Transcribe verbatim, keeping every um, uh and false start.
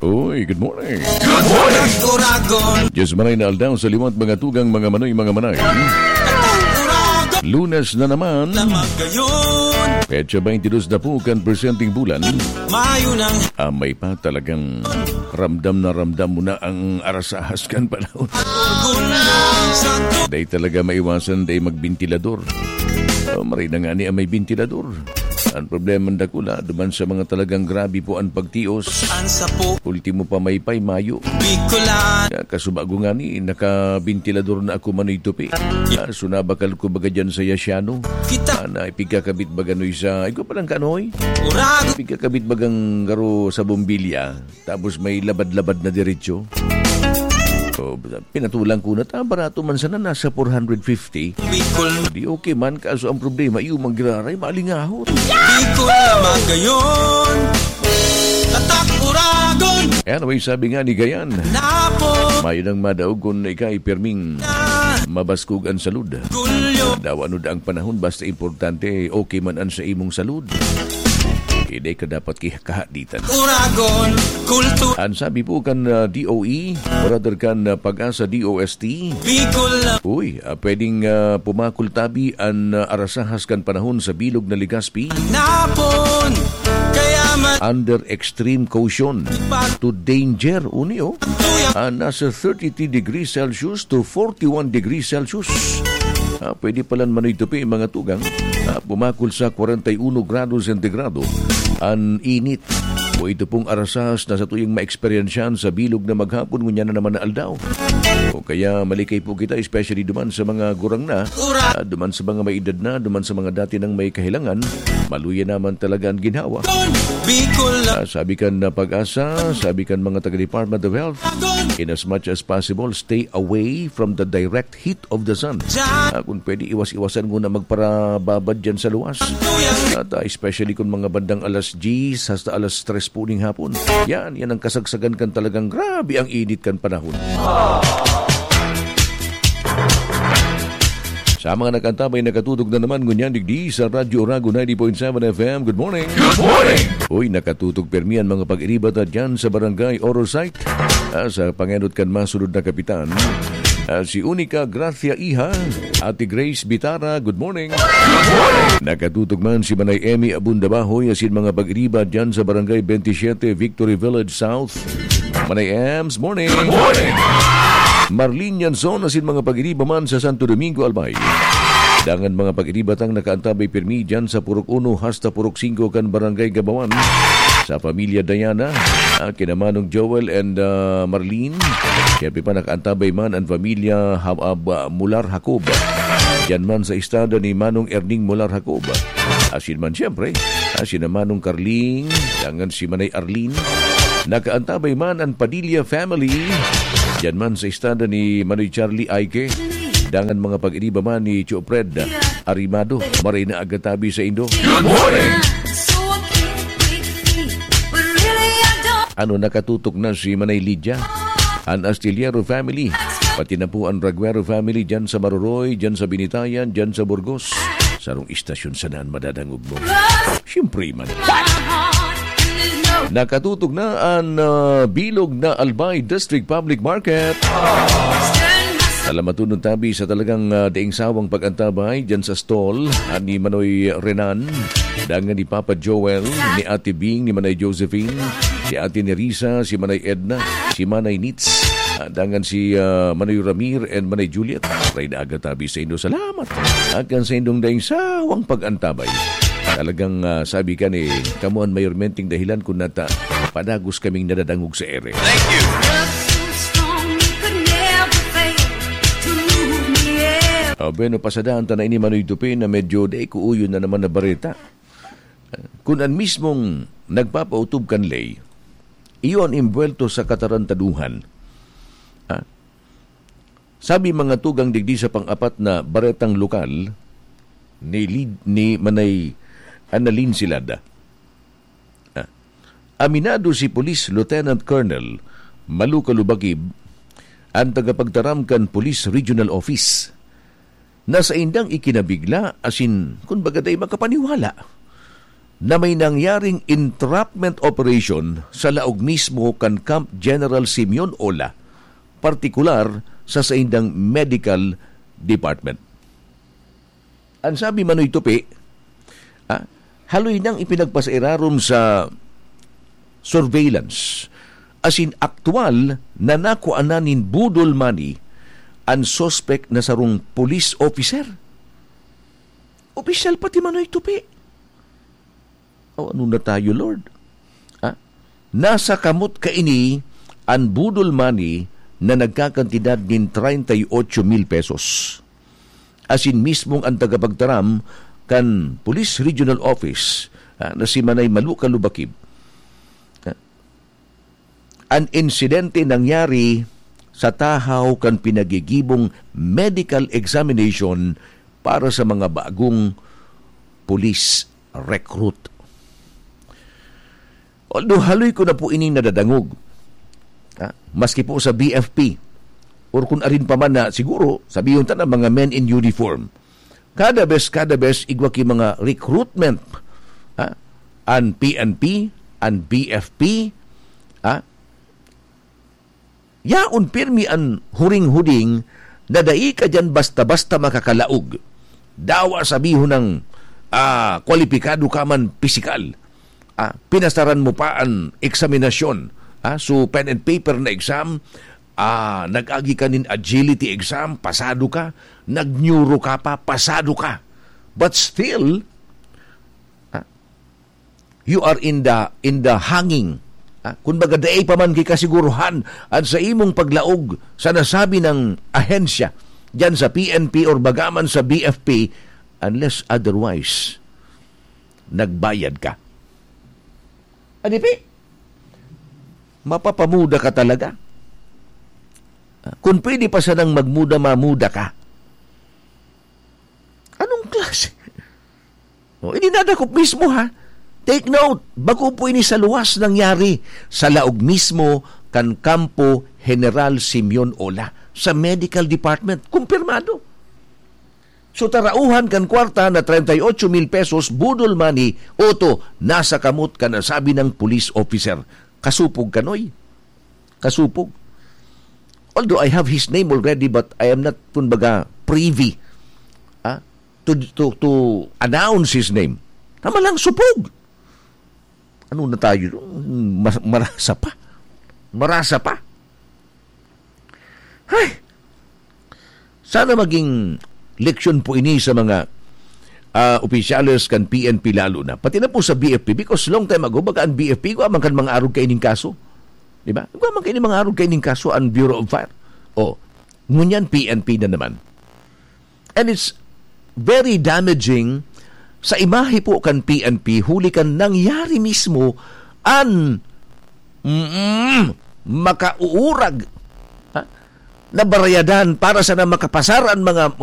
Uy, good morning. Good morning. Uragon. Diyos manay na aldaw sa liwat, mga tugang, mga manoy, mga manay. Uragon. Lunes na naman. Na magayon. Petsa twenty-dos na po kan presenteng bulan. Mayo nang Ah, may pa talagang ramdam na ramdam mo na ang arasahas kan panahon. Uragon. Santo. Dai talaga maiwasan, dai magbentilador. Oh, maray na nga ni ang may bentilador. Ang problema, dakula, duman sa mga talagang grabe po ang pagtios. Ang sapo. Ultimo pa, may pay, mayo. Bicolan. Ya, kasubago nga ni, nakabentilador na ako, Manoy Tupi. Ah, so nabakal ko baga dyan sa Yasiano. Kita. Ah, na ipigkakabit baga, Noy, sa, ay ko palang kanoy. Urag. Ipigkakabit bagang garo sa bombilya. Tapos may labad-labad na diretso. So, pinatulang ko na, ta, barato man sana, nasa four hundred fifty. Bicol. Di okay man, kaso ang problema, iyo mang giraray, malingahot. Bicol na magayon. Tatak Uragon. Anyway, sabi nga ni Gayan, Napo. Mayo nang madaog kun ika ay pirming Na. Mabaskog ang salud. Gulyo. Daw ano da ang panahon, basta importante, okay man an sa imong salud. Hindi ka dapat ki-, kahaditan. Uragon, kultu- Ang sabi po kan, ah, D O E, o rather kan, ah, Pag-asa D O S T, Bicol na. Uy, ah, pwedeng, ah, pumakol tabi an, ah, arasahas kan panahon sa bilog na Legazpi. Napon, kaya man. Under extreme caution to danger, uni, oh. Tuyang. Ah, nasa thirty-three degrees Celsius to forty-one degrees Celsius. Ah, pwede palan, Manoy Tupi, mga tugang. Ah, pumakol sa kwarenta y uno grado sentigrado an init. O ito pong arasahas na satuyang maeksperiensyahan sa bilog na maghapon, ngunyan na naman na aldaw. O kaya malikay po kita, especially duman sa mga gurang na, ah, duman sa mga may edad na, duman sa mga dati nang may kahilangan, maluya naman talaga ang ginhawa. Bicol na. Ah, sabi kan na Pag-asa, sabi kan mga taga Department of Health, in as much as possible, stay away from the direct heat of the sun. Ah, kung pwede, iwas-iwasan muna magparababad dyan sa luwas. At, ah, especially kung mga bandang alas diyes hasta alas tres po ning hapon. Yan, yan ang kasagsagan kan talagang grabe ang init kan panahon. Sa mga nakantabay, nakatutok na naman ngunyan digdi sa Radyo Oragon ninety point seven F M. Good morning. Good morning. Uy, nakatutok permi an mga pag-iriba ta dyan sa Barangay Orosite. Ah, sa pangenot kan masunod na kapitan, ah, si Unica Gracia Iha, Ate Grace Bitara, good morning. Good morning. Nakatutok man si Manay Emmy Abunda Bahoy, asin mga pag-iriba dyan sa Barangay twenty-seven, Victory Village South. Manay Ems, morning. Good morning. Marlene Yanson, asin mga pag-iriba man sa Santo Domingo, Albay. Dangan mga pag-iriba tang nakaantabay pirmi dyan sa Purok Uno hasta Purok Singko kan Barangay Gabawan. Sa pamilya Diana, ah, kina Manong Joel and, ah, Marlene. Siyempre pa, nakaantabay man ang pamilya Ha-, ah, Ba-, Mular Jacob. Diyan man sa estada ni Manong Erning Mular Jacob. Asin man, siyempre, ah, sina Manong Carling, dangan si Manay Arlene. Nakaantabay man ang Padilla family. Diyan man sa estada ni Manoy Charlie Aike. Dangan mga pag-iriba man ni Tio Fred Arimado, maray na aga tabi sa indo. Good morning! Ano, nakatutok na si Manay Lydia, an Astillero family, pati na po an Raguero family dyan sa Maroroy, dyan sa Binitayan, dyan sa Burgos. Sarong istasyon sana an madadangog mo. Siyempre man. Nakatutok na an, ah, bilog na Albay District Public Market. Salamaton tabi sa talagang, ah, daing sawang pag-antabay dyan sa stall, ah, ni Manoy Renan, dangan ni Papa Joel, ni Ate Bing, ni Manay Josephine, si Ate Nerissa, si Manay Edna, si Manay Nits, ah, dangan si, ah, Manoy Ramir and Manay Juliet. Maray na aga tabi sa indo. Salamat. Akan sa indong daing sawang pag-antabay. Talagang, ah, sabi ka ni, kamo an mayormenteng dahilan kun nata padagos kaming nadadangog sa ere. Thank you. Ah, bueno, pasadaan ta na ini, Manoy Dupin, na medyo dai ko uyon na naman na bareta. Kun an mismong nagpapautob kan ley, iyo an imbuwelto sa katarantaduhan. Ah, sabi mga tugang digdi sa pang-apat na baretang lokal, ni Lid-, ni Manay Annalyn Silada. Ah, aminado si Police Lieutenant Colonel Malu Kalubakib, an tagapagtaram kan Police Regional Office, na saindang ikinabigla asin, kun baga, dai makapaniwala na may nangyaring entrapment operation sa laog mismo kan Camp General Simeon Ola, partikular sa saindang medical department. An sabi, Manoy Tupi, ah, haloy nang ipinagpasairarom sa surveillance, asin aktuwal na nakuanan nin budol money an suspek na sarong police officer. Opisyal pati, Manoy Tupi. O, ano na tayo, Lord? Ah, nasa kamot kaini an budol money na nagkakantidad nin treinta y ocho mil pesos. Asin mismong an tagapagtaram kan Police Regional Office, ah, na si Manay Maluka Lubakib, ah, an insidente nangyari sa tahaw kan pinagigibong medical examination para sa mga bagong police recruit. Although haloy ko na po ining nadadangog, ha? Maski po sa B F P, or kung arin pa man na siguro, sabihon ta na mga men in uniform. Kada bes, kada bes, igwa ki mga recruitment, ha? An P N P, an B F P, ha? Yaon pirmi an huring-huding na dai ka diyan basta-basta makakalaog. Dawa sabihon nang, ah, kwalipikado ka man pisikal. Ah, pinasaran mo pa an eksaminasyon. Ah, so, pen and paper na exam, ah, nag-agi ka nin agility exam, pasado ka, nag-neuro ka pa, pasado ka. But still, ah, you are in the, in the hanging. Ah, kun baga, dai pa man ki kasiguruhan an sa imong paglaog sa nasabi nang ahensya, diyan sa P N P or bagaman sa B F P, unless otherwise, nagbayad ka. Adipi, mapapamuda ka talaga. Ah, kun pwede pa sanang magmuda, mamuda ka. Anong klase? O, ini nadakop mismo, ha? Take note, bako po ini sa luwas nangyari sa laog mismo kan Kampo General Simeon Ola sa medical department. Kumpirmado. So, tarauhan kan kwarta na treinta y ocho mil pesos, budol money, oto, nasa kamot kan nasabi nang police officer. Kasupog kanoy. Kasupog. Although I have his name already, but I am not, kumbaga, privy, ah, to, to, to announce his name. Tama lang, supog. Ano na tayo? Mas-, marasa pa. Marasa pa. Hay! Sana maging leksyon po ini sa mga, ah, opisyales kan P N P lalo na. Pati na po sa B F P, because long time ago, baga an B F P, igwa man kan mga arog kaining kaso. Di ba? Igwa man kaining mga arog kaining kaso, ang Bureau of Fire. O, ngunyan P N P na naman. And it's very damaging sa imahe po kan P N P, huli kan nangyari mismo an, mm, makauurag, ha, na barayadan para sana makapasar an mga